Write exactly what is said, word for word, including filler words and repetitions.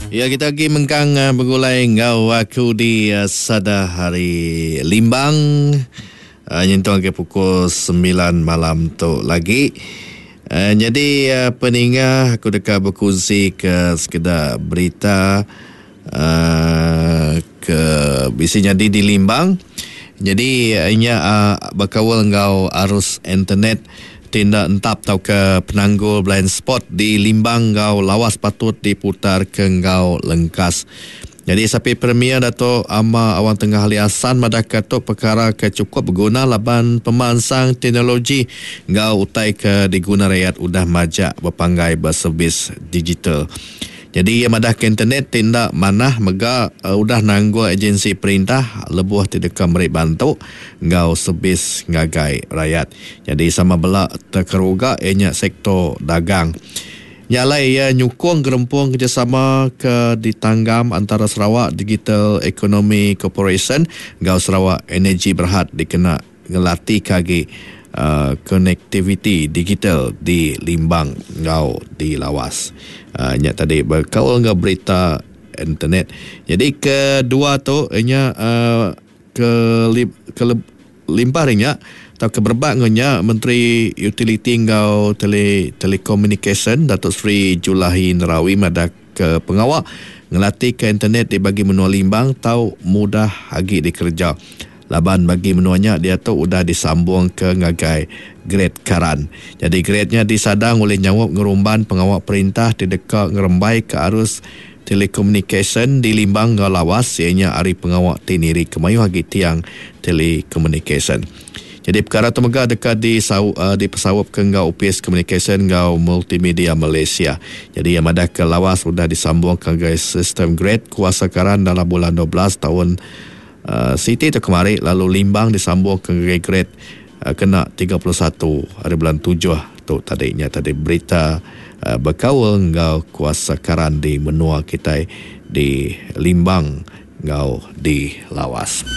Ya, kita lagi mengkang uh, begulai ngau aku di uh, Sada Hari Limbang. Uh, nyentuh ke pukul sembilan malam tu lagi. Uh, jadi uh, peninga aku deka berkongsi ke sekedar berita uh, ke bisi jadi di Limbang. Jadi inya uh, berkawal ngau arus internet tindak entap tau ke penanggul blind spot di Limbang ngau Lawas patut diputar ke ngau lengkas. Jadi sapi Premier Dato' Ama Awang Tengah Ali Hasan madah tu perkara ke cukup berguna laban pemansang teknologi ngau utai ke diguna rakyat udah majak berpanggai berservis digital. Jadi ia madah ke internet tindak manah mega uh, udah nanggul agensi perintah lebuh tidak meri bantu ngau servis ngagai rakyat. Jadi sama belak terkeruga ianya sektor dagang. Nyalai ia nyukung gerempung kerjasama ke ditanggam antara Sarawak Digital Economy Corporation ngau Sarawak Energy Berhad dikena ngelati kagi uh, connectivity digital di Limbang ngau di Lawas. Uh, nya tadi berkaul ngau berita internet. Jadi kedua tu nya uh, ke ke limpah nya atau ke berbak nya Menteri Utility ngau Tele, Telecommunication Datuk Seri Julaihi Narawi madah ke pengawak ngelatih ke internet di bagi menua Limbang tau mudah agi dikerja. Laban bagi menuanya dia tu udah disambung ke ngagai grade karan. Jadi grade-nya disadang oleh nyawab ngerumban pengawak perintah di dekat ngerembai ke arus telekomunikasi di Limbang ngau Lawas ianya ari pengawak tiniri kemayu agi tiang telekomunikasi. Jadi perkara tu mega dekat di sau, uh, di pesawat ke ngau U P S Communication ngau Multimedia Malaysia. Jadi yang madah ke Lawas sudah disambung ke ngagai sistem grade kuasa karan dalam bulan dua belas tahun Uh, Siti tu kemari lalu Limbang disambung ke grade uh, kena tiga puluh satu hari bulan tujuh tu tadinya tadi berita uh, berkaul ngau kuasa karan di menua kita di Limbang ngau di Lawas.